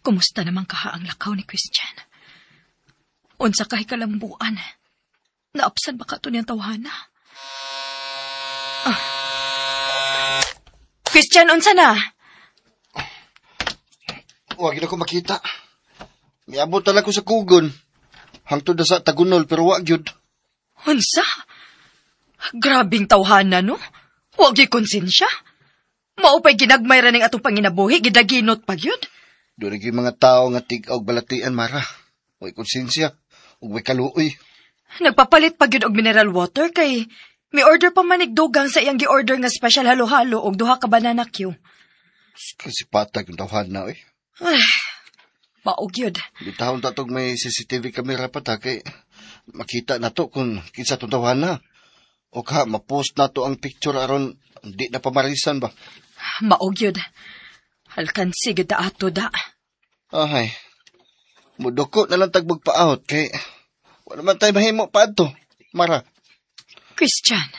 Kumusta naman kaha ang lakaw ni Christian? Unsa kay kalambuan? Naapsan ba ka to niyang tawhana? Ah. Christian, unsa na? Wa gyud ako makita. Miabot na lang ko sa kugon. Hangtod na sa Tagunol pero wa gyud. Unsa? Grabing tawhana, no? Wa gyud konsensya. Mao pa'y ginagmay ra ning atong panginabuhi, gidaginot pa gyud. Doon gyud mga tao nga tig-aw og balatian, Mara. Way konsensya ug way kaluoy. Nagpapalit pa gyud og mineral water kay may order pa manig dugang sa iyang gi-order nga special halo-halo og duha ka banana cue. Kasi patag yung tawhana, oy. Ay, mao gyud. Bitawon ta tog may CCTV camera pa ta kay makita na to kung kinsa tong tawhana. O ka, ma-post na to ang picture aron di na pamarisan ba. Mao gyud. Alkansi gyud ta ato da. Ahay. Muduko na lang tag magpaahot kay wala man tayo mahimo pa adto. Mara. Christian.